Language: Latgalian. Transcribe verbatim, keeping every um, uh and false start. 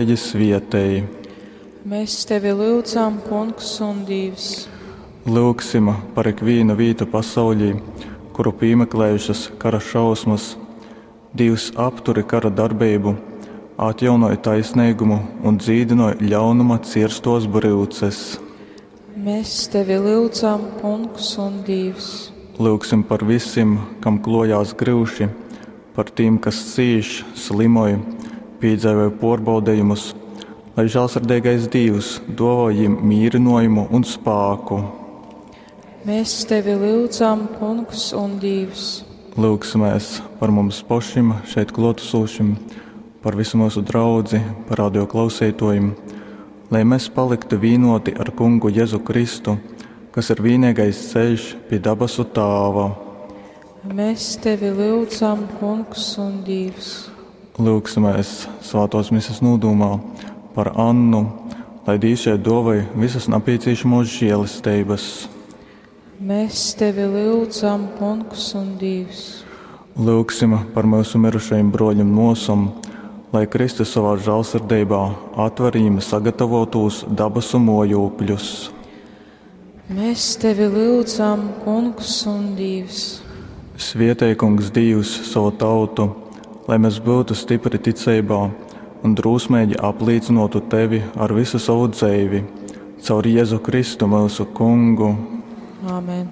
Svietej. Mēs tevi lyudzam, Kungs un Dievs. Lyugsim par ikvīnu vītu pasaulī, kuru pīmeklējušas kara šausmas. Dievs, apturi kara darbību, atjaunoj taisnīgumu un dzīdinoj ļaunuma cirstos bryuces. Mēs tevi lyudzam, Kungs un Dievs. Lyugsim par visiem, kam klojās gryuši, par tiem, kas cīš, slimoj, piedzīvoja pārbaudījumus, lai žēlsirdīgais Dievs dāvā viņiem mierinājumu un spēku. Mēs tevi lyudzam, Kungs un Dievs. Lūgsimies par mums pašiem, šeit klātesošiem, par visu mūsu draudzi, par radio klausītājiem, lai mēs paliktu vienoti ar Kungu Jēzu Kristu, kas ir vienīgais ceļš pie dabasu Tāva. Mēs tevi lyudzam, Kungs un Dievs. Lūgsimies svētos misas nūdūmā par Annu, lai Dievs šeit dāvāj visas nepieciešamos žēlestības. Mēs tevi lyudzam, Kungs un Dievs. Lūgsim par mūsu mirušajiem broļiem nosom, lai Kristus savā žēlsirdībā atver viņiem sagatavotos dabasu mojūkļus. Mēs tevi lyudzam, Kungs un Dievs. Svietej, Kungs, Dievs savu tautu, lai mēs būtu stipri ticībā un drosmīgi apliecinātu tevi ar visu savu dzīvi, caur Jēzu Kristu mūsu Kungu. Āmen.